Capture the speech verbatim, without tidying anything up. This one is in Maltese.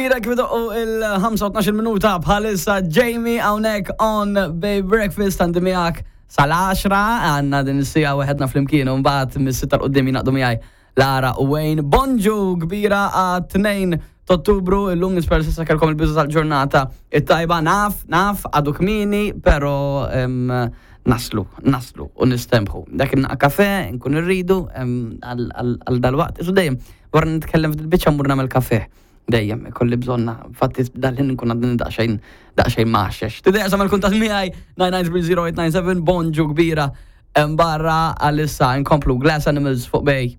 Kbira kif idoqqu il-ħamsa u tnax-il minuta bħalissa. Jamie hawnhekk on Bay Breakfast, għandi miegħek sal-għaxra, għandna din is-siegħa waħedna flimkien u mbagħad mis-sitta 'l quddiem jingħaqdu miegħi Lara u Wayne. Bonġu kbira għat-tnejn t'Ottubru, illum nispera s'issa kellkom il-bidu tal-ġurnata it-tajba. Naf, naf, għadu kmieni, pero em, naslu, naslu u nistembħu. Dak il kafe, nkun irridu em, għal għal dal-waqt. Isu dejjem, wara nitkellem fil-biċċa mmur nagħmel kafe. Dejjem, ikolli bżonna, infatti dal-ħin nkun għadni daqsxejn, daqsxejn maħxex. Tidejja sa mal-kuntatt miegħi nine nine three zero eight nine seven, bonġu kbira em, barra għalissa nkomplu Glass Animals fuq Bay.